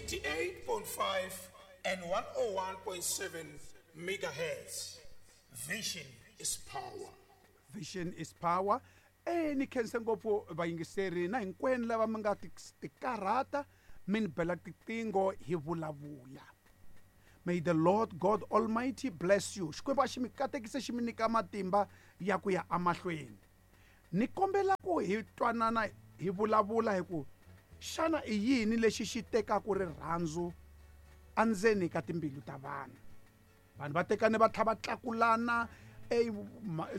88.5 and 101.7 megahertz. Vision is power. Vision is power. Ni khense ngopfu vayingiseri na hinkwenu lava mi nga tikarhata mi ni bela tiqingho hi vulavula. May the Lord God Almighty bless you. Xikwembu a xi mi katekise xi mi nyika matimba ya ku ya emahlweni. Ni kombela ku hi twanana hi vulavula hi ku xana i yini lexi xi tekaka rirhandzu endzeni ka timbilu ta vanhu. Vanhu va tekane va tlha va tlakulana,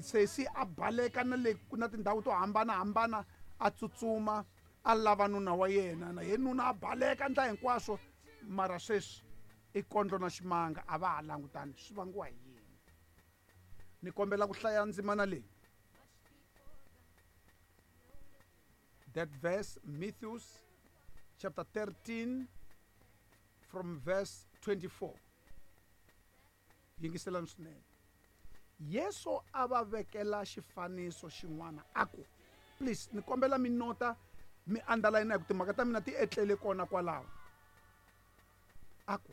sesi a baleka na le na tindhawu to hambanahambana a tsutsuma a lava nuna wa yena, na ye nuna a baleka ndla hinkwaswo, mara sweswi i kondlo na ximanga a va ha langutani. Swi vangiwa hi yini? Ni kombela ku hlaya ndzimana leyi. That verse, Matthew chapter 13 from verse 24. Yingiselani swinene. Yesu a va vekela xifaniso xin'wana a ku, please ni kombela mi nota mi underline hi ku timhaka ta mina ti etlele kona kwalaho. A ku,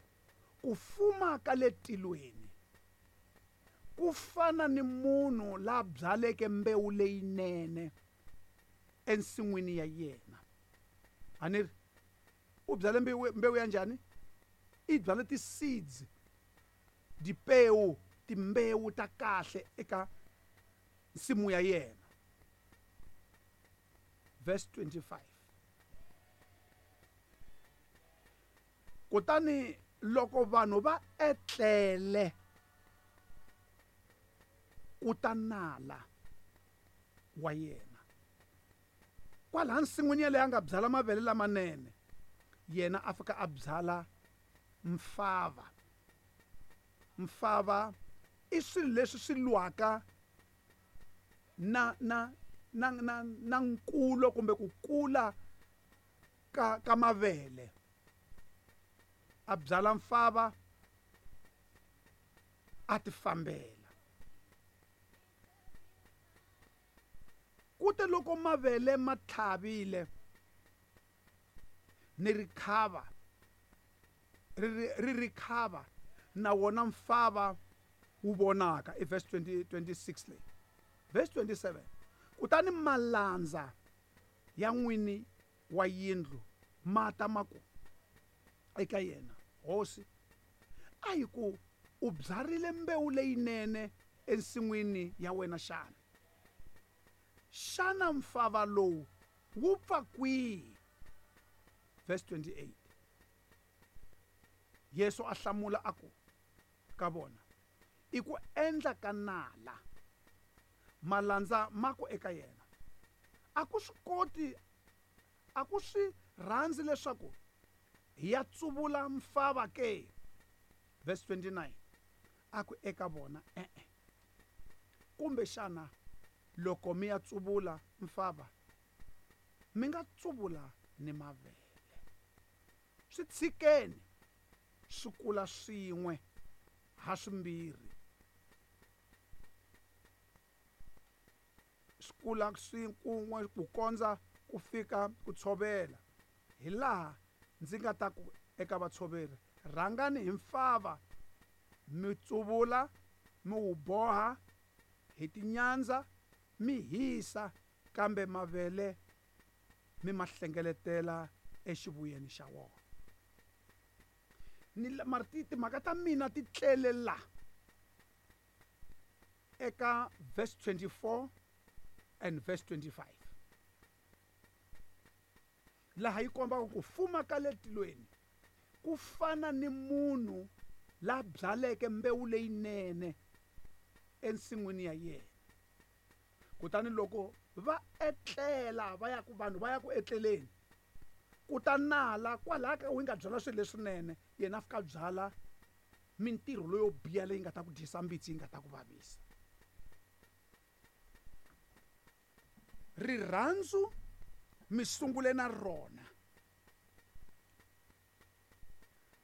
ku fuma ka le tilweni ku fana ni munhu la byaleke mbewu leyinene ensin'wini ya yena. A ni ri u byale mbewu ya njhani? I byale ti-seeds, dipewu, timbewu ta kahle eka nsimu ya yena. Verse 25. Kutani loko vanhu va etlele ku ta nala wa yena kwalaha nsin'wini yaleyo a nga byala mavele lamanene, yena a fika a byala mfava. Mfava i swilo leswi swi lwaka na na na na na nkulo kumbe ku kula ka mavele. A byala mfava a ti fambela. Kute loko mavele ma tlhavile ni rikhava ri rikhava na wona mfava wu vonaka. I verse 26 leyi. Verse 27. Kutani malandza ya n'wini wa yindlu ma ta ma ku eka yena, Hosi, a hi ku u byarile mbewu leyinene ensin'wini ya wena xana? Xana mfava lowu wu pfa kwihi? Verse 28. Yesu a hlamula a ku ka vona, i ku endla ka nala. Malandza ma ku eka yena, a ku swi koti, a ku swi rhandzi leswaku hi ya tsuvula mfava ke? Verse 29. A ku eka vona, e-e. Kumbe xana loko mi ya tsuvula mfava, mi nga tsuvula ni mavele. Swi tshikeni swi kula swin'we ha swimbirhi. Swi kula kun'we ku kondza ku fika ku tshovela. Hi laha ndzi nga ta ku eka vatshoveri, rhangani hi mfava mi tsuvula, mi wu boha hi tinyandza, mi hisa, kambe mavele mi ma hlengeletela exivuyeni xa wona. Ni mara timhaka ta mina ti tlele la eka verse 24 and verse 25. Laha yi kombaka ku fuma ka le tilweni ku fana ni munhu la byaleke mbewu leyinene ensin'wini ya yena. Kutani loko va etlela, va ya ku vanhu va ya ku etleleni, ku ta nala kwalaha ka wu nga byala swilo leswinene, yena a fika a byala mintirho leyo biha leyi nga ta ku dyisa mbitsi, yi nga ta ku vavisa. Rirhandzu mi sungule na rona.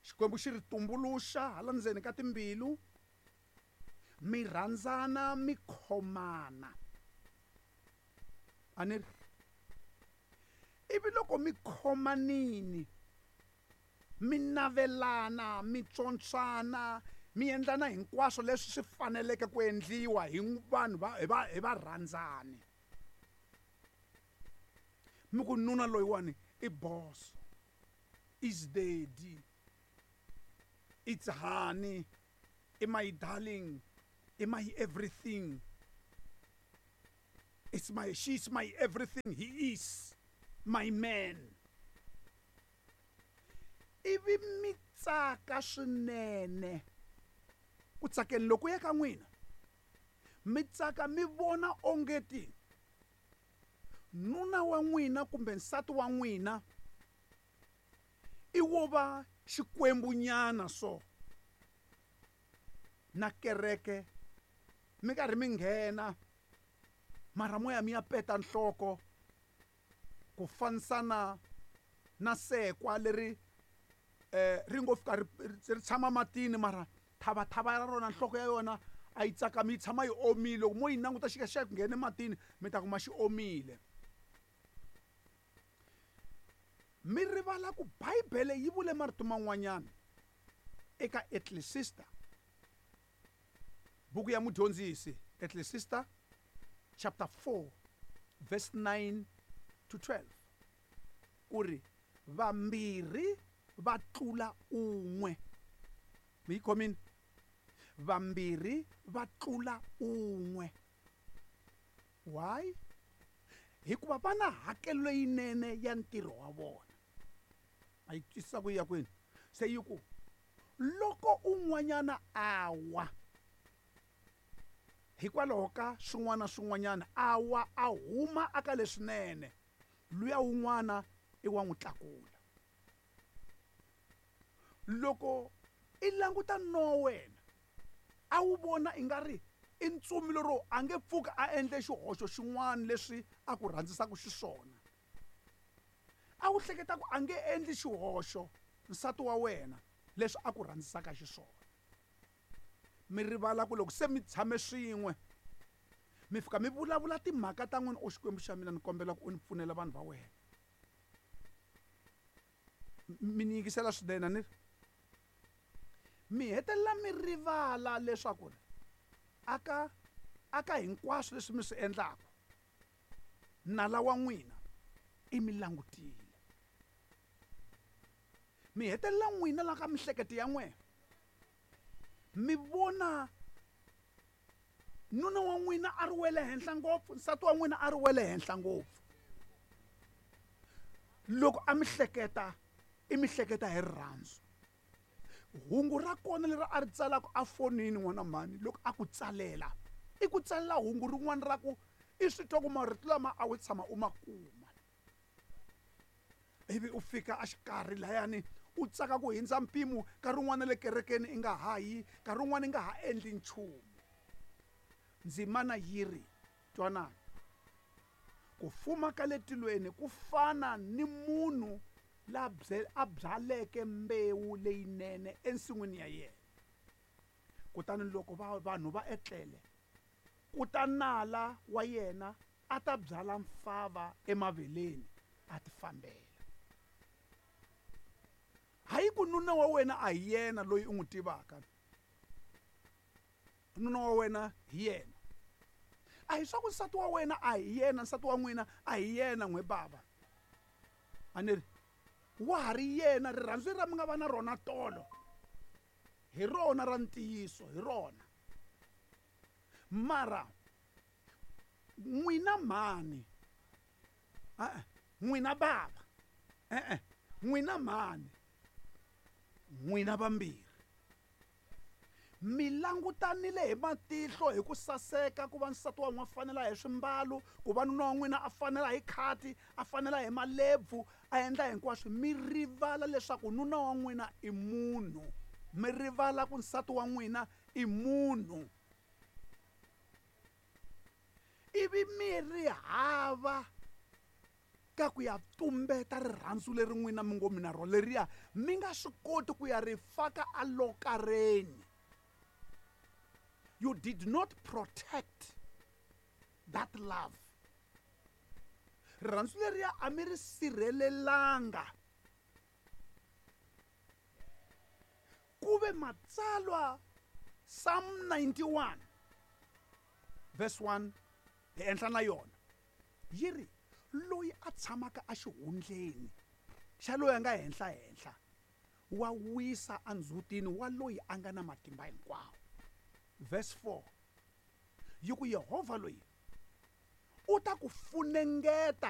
Xikwembu xi ri tumbuluxa hala ndzeni ka timbilu, mi rhandzana, mi khomana. A ni ri ivi loko mi khomanini, Mi navelana, mi tswontswana, mi endlana hinkwaswo leswi swi faneleke ku endliwa hi vanhu va hi va hi varhandzani. Mi ku nuna loyiwani i boss, is daddy, it's honey, i my darling, i my everything. It's my, she's my everything, he is my man. Ivi mi tsaka swinene ku tsakeni loko ya ka n'wina, mi tsaka mi vona ongeti nuna wa n'wina kumbe nsati wa n'wina i wo va xikwembunyana so na kereke mi karhi mi nghena mara moya mi ya peta nhloko ku fanisana na sekwa leri ri ngo fika ri tshama matini mara thavathava ya rona nhloko ya yona a yi tsakami yi tshama yi omile. Loko mo yi languta xi xa ku nghena ematini mi ta kuma xi omile. Mi rivala ku Bibele yi vule marito man'wanyana eka Ecclesiastes, buku ya mudyondzisi, Ecclesiastes chapter 4 verse 9 to 12, ku ri vambirhi va tlula un'we. Mi yi khomile? Vambirhi va tlula un'we. Why? Hikuva va na hakelo leyinene ya ntirho wa vona. A yi twisisa ku ya kwini? Se yi ku loko un'wanyana a wa hikwalaho ka swin'wana swin'wanyana, a wa a huma aka leswinene, luya un'wana i wa n'wi tlakula. Loko i languta no wena a wu vona i nga ri i ntsumi lero a nge pfuki a endle xihoxo xin'wana leswi a ku rhandzisaka xiswona, a wu hleketa ku a nge endli xihoxo nsati wa wena leswi a ku rhandzisaka xiswona. Mi rivala ku loko se mi tshame swin'we mi fika mi vulavula timhaka ta n'wina, o Xikwembu xa mina ni kombela ku u ni pfunela vanhu va wena. Mi ni yingisela swinene ni ri mi hetelela mi rivala leswaku aka hinkwaswo leswi mi swi endlaka nala wa n'wina i mi langutile. Mi hetelela n'wina la ka mihleketo ya n'wina mi vona nuna wa n'wina a ri wele henhla ngopfu, nsati wa n'wina a ri wele henhla ngopfu. Loko a mi hleketa, i mi hleketa hi rirhandzu. Hungu ra kona leri a ri tsalaka a fonini n'wana mhani, loko a ku tsalela, i ku tsalela hungu rin'wana ra ku i swi twa ku marito lama a wu tshama u ma kuma. Ivi u fika a xikarhi layani u tsaka ku hindza mpimo, nkarhi wun'wana le kerekeni i nga ha yi, nkarhi wun'wana i nga ha endli nchumu. Ndzimana yi ri, twanani, ku fuma ka le tilweni ku fana ni munhu la a byaleke mbewu leyinene ensin'wini ya yena. Kutani loko vanhu va etlele, ku ta nala wa yena a ta byala mfava emaveleni a ti fambela. Hayi ku nuna wa wena a hi yena loyi u n'wi tivaka, nuna wa wena hi yena. A hi swa ku nsati wa wena a hi yena, nsati wa n'wina a hi yena n'we bava. A ni ri wa ha ri yena, rirhandzu ra mi nga va na rona tolo hi rona ra ntiyiso, hi rona. Mara n'wina mhani, n'wina bava, n'wina mhani, n'wina vambirhi mi langutanile hi matihlo hi ku saseka ku va nsati wa n'wina a fanela hi swimbalo, ku va nuna wa n'wina a fanela hi khati, a fanela hi malebvu, a endla hinkwaswo. Mi rivala leswaku nuna wa n'wina i munhu, mi rivala ku nsati wa n'wina i munhu. Ivi mi ri hava ka ku ya tumbeta rirhandzu leri n'wina mi ngo mi na rona leriya, mi nga swi koti ku ya ri faka alokareni. You did not protect that love. Rirhandzu leriya a mi ri sirhelelanga. Kambe matsalwa Psalm 91 verse 1 hi enhla na yona yi ri loyi a tshamaka exihundleni xa loyi a nga henhla henhla wa wisa endzhutini wa loyi a nga na matimba hinkwawo. Verse 4 yi ku Yehovha loyi u ta ku funengeta